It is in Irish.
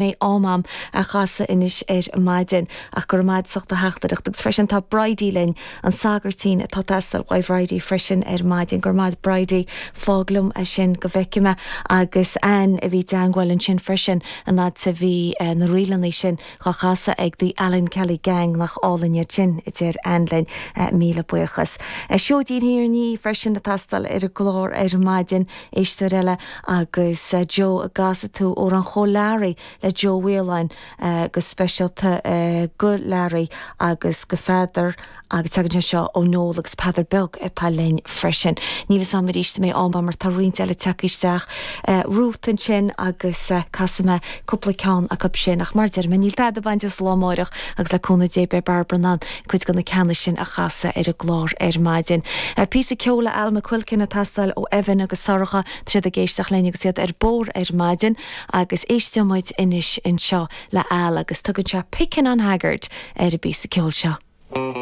Mbeidh am a'm a chasadh anois ar maidin ach go raibh maith a'd as ucht do theachtaireacht agus freisin tá Bridie linn, an sagairtín atá ag teastáil uaidh Bhridie freisin ar maidin. Go raibh maith a'd Bridie, fág liom é sin go bhfeicfidh mé agus Anne a bhí i dteangmháil ansin freisin an fhad 's a bhí na ríleanna sin dhá chasadh ag The Alan Kelly Gang, nach álainn iad sin, a deir Anne linn. Míle buíochas. Seoidín Thír an Fhia freisin ag teastáil ar an gclár ar maidin. Éisteoir eile agus Joe an gcasfaidh tú Amhrán Chóil Learaí le Joe Mhaoláin go speisialta go Learaí agus go Pheadar agus tagann sé seo ó Noel agus Peadar Beag atá linn freisin. Níl fhios a'm arís an mbeidh am a'm mar tá roinnt eile tagtha isteach. Ruth ansin agus casfaidh mé cúpla ceann acu sin ach mar a deir mé níl tada bainte sa lá amáireach agus le cúnamh Dé beidh Barbara in ann cuid de na ceanna sin a chasadh ar an gclár ar maidin. Píosa ceoil le Al McQuilkin ag teastáil ó Evan agus Sorcha, tá siad ag éisteacht linn agus iad ar bóthar ar maidin agus éisteoidh muid anois anseo le Al agus tugann sé 'Pickin' on Haggard' ar an bpíosa ceoil seo.